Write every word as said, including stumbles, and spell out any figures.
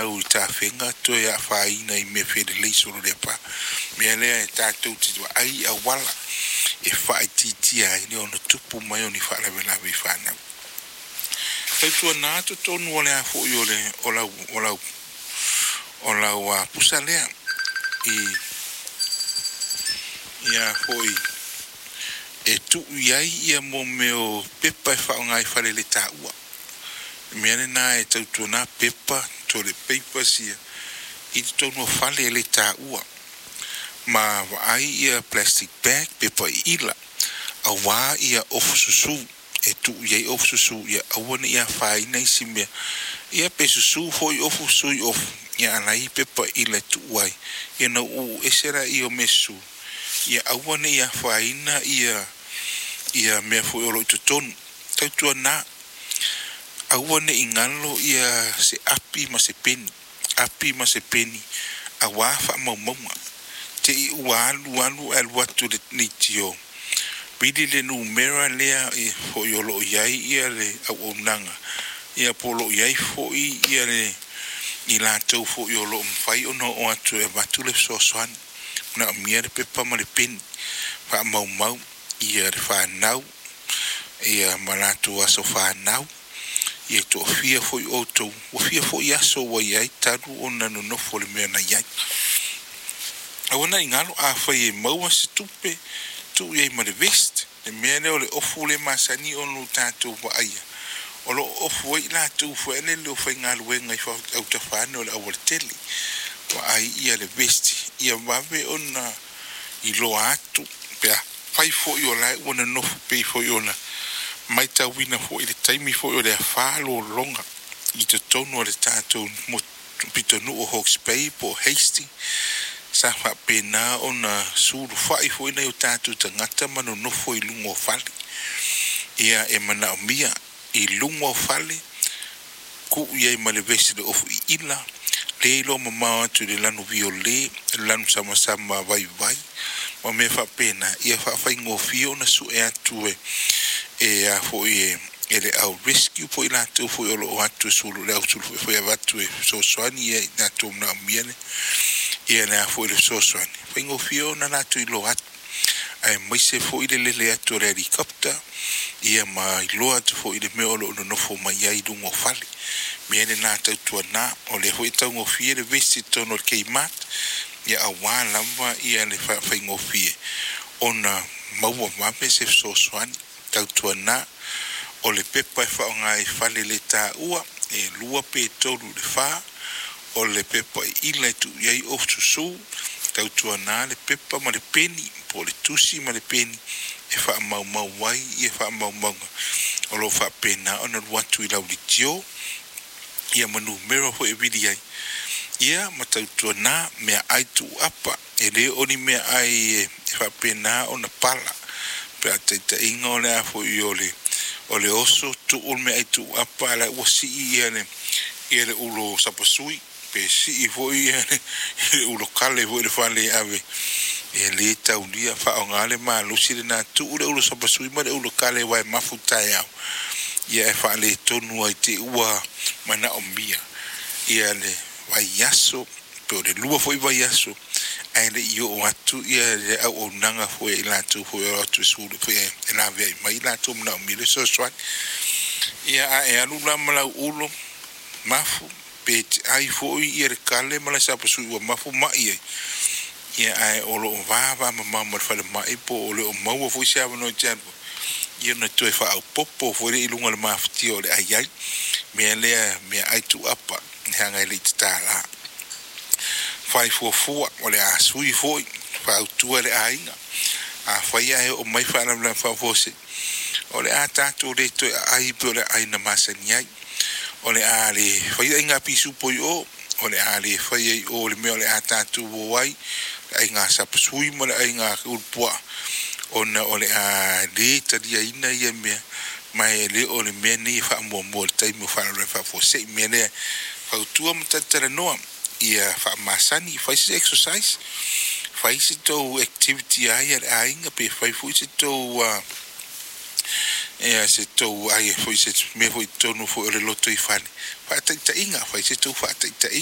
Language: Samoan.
Fanau i tafega toe afaina i mea felelei solo le pa mea lea e tatou te vaai auala e faaitiitia ai le ono tupu mai o ni faalavelave i fanau. Tautuana totonu o le a foi o le o lau o lau o lau uh, pusa lea i ia foi e tuu i ai ia mo mea o pepa e faaaoga i fale le taua. Mea lena e tautuana pepa toilet papers ia i totonu o fale e le taua ma vaai ia plastic bag, pepa iila auā ia ofu susū e tuu i ai ofu susū ia aua ne i afaina isi mea ia pe susū foi ofu susū i ofu ia alai pepa ila e tuu ai ia na uu ese laia o mea susū ia aua ne i afaina ia ia mea foi o lo o i totonu. Tautuana aua ne i galo ia se api ma se peni, api ma se peni auā faamaumauga te i ua alu alu ae alu atu le leitio vili le numera lea e foi o lo o i ai ia le auaunaga ia po o lo o i ai foi ia le i latou foi o lo o mafai ona oo atu e avatu le fesoasoani. Manaomia le pepa ma le peni faamaumau ia le fanau ia ma latou aso fanau ia toafia foi outou ua fia foi aso ua i ai talu ona nonofo le mea na i ai. Aua ne i galo afai e maua se tupe tuu i ai ma le vest le mea lea o le ofu le masani ona o tatou vaaia o lo o ofu ai latou foi lele o faigaluega i autafa ane o le aualatele. Vaai ia le vest ia vave ona iloa atu pe afai foi o la e ua nonofo pei foi ona matauina foi i le taimi foi o le afa lologa i totonu o le tatou pitonuu o Hawke's Bay po o Hastings sa faapena ona sulufai foi nai o tatou tagata ma nonofo i luga o fale. Ia e manaomia i luga o fale tuu i ai ma le vesi le ofu iila le iloa mamao atu i le lanu violet, le lanu samasama vaivai ma mea faapena ia faafaigofie ona sue atu e e a foi e e le au rescue po o i latou foi o lo o atu e sulu le au sulu foi avatu e fesoasoani ia i latou manaomia le ia le a foi le fesoasoani faigofie ona latou iloa atu aemaise foi le lele atu o le helicopter ia ma iloa atu foi i le mea o lo o nonofo mai ai i luga o fale. Mea lena tautuana o lea foi e taugofie le vesi i totonu o le Kmart ia auā lava ia le faafaigofie ona maua vave se fesoasoani. Tautuana o le pepa e faaaoga i fale le taua e lua pe tolu i le fa o le pepa iila e tuu i ai ofu susū. Tautuana le pepa ma le peni po o le tusi ma le peni e faamaumau ai ia faamaumauga o lo o faapena ona alu atu i lau leitio ia ma numera foi e vili ai ia ma tautuana meaai tuuapa e le o ni meaai e faapena ona pala pe a taitaiga o le a foi o le o le oso tuu le meaai tuuapa a la ua sii ia le ia le ulo sapasui pe sii foi ia le, le ulo kale foi le fale e ave e le taulia faaaoga le malosi lena tuu le ulo sapasui ma le ulo kale aua e mafu taeao ia e faaletonu ai te ua manaomia ia le vaiaso pe o le lua foi vaiaso ae le i oo atu ia le auaunaga foi i latou foi o atu e sulu foi e laveai mai latou manaomia le fesoasoani. Ia a e alu la ma lau ulo mafu pe te ai foi ia le kale ma le sapasui ua mafu mai ai ia ae o lo o vava mamao ma le falemai po o le o maua foi se avanoa e te alu ia ona toe faaopoopo foi lea i luga o le mafatia o le ai ai mea lea meaai tuuapa leaga e le i tatala. Fai fuafua o le a sui foi fautua le aiga afai ae oo mai faalavelave faafuasei o le a tatou le toe aai pei o le aai na masani ai o le a le faia aiga pisupo i o o le a le faia i o le mea o le a tatou o ai le aiga sapasui ma le aiga ulupuaa ona o le a le taliaina ia mea ma e le o le mea nei e faamuamua i le taimi o faalavelave faafuasei. Mea lea fautua ma talatalanoa ia faamasani fai se exercise fai se tou activity ai a le aiga pe fai foi se tou uh, ia se tou ai foi se mea foi totonu foi o le loto i fale faataitaiga fai se tou faataitaiga.